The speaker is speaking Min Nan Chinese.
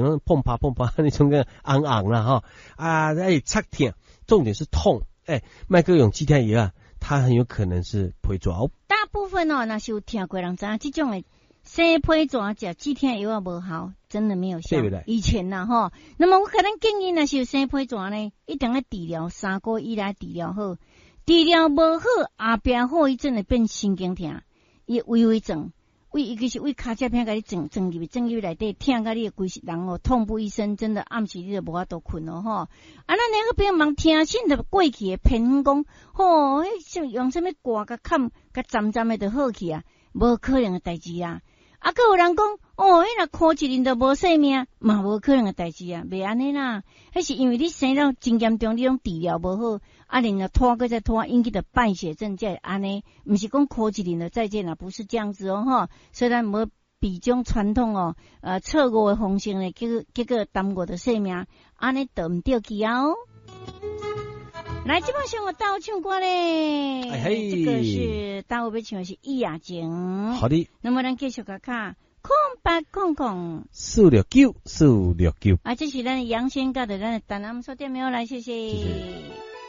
像碰拍碰拍，你種個紅紅啦吼，啊，會刺疼，重點是痛，欸，莫閣用止疼藥啊，它很有可能是皮蛇。大部分哦，若是有聽過人知影，這種的生皮蛇食止疼藥仔無效，真的沒有效。以前呐吼，那麼我可能建議，若是有生皮蛇呢，一定要治療3個月以來治療好，治療無好，後壁後遺症會變神經痛，伊會微微撞。為尤其是為跤跡片共你撞撞入去，撞入去內底，疼甲你規世人哦，痛不欲生，真的暗時你就無法度睏咯吼。啊，咱兩個朋友茫聽信著過去的偏方講，吼，彼用啥物掛共崁，共鏨鏨的就好去啊，無可能的代誌啊！啊，閣有人講，哦，彼若箍一輪就無性命，嘛無可能的代誌啊，袂按呢啦。彼是因為你生了真嚴重，你攏治療無好，啊，然後拖閣再拖，引起著敗血症才會按呢，毋是講箍一輪就再見啦，不是這樣子哦，吼。雖然無比種傳統哦，錯誤的方式呢，結果耽誤著性命，按呢就毋對去啊哦。來，這擺上我到唱歌咧，這個是大會欲唱的是葉雅靜。好的。那麼咱繼續共敲0800 469 469。啊，這是咱楊先甲的咱的台南書店沒有來，謝謝。謝謝。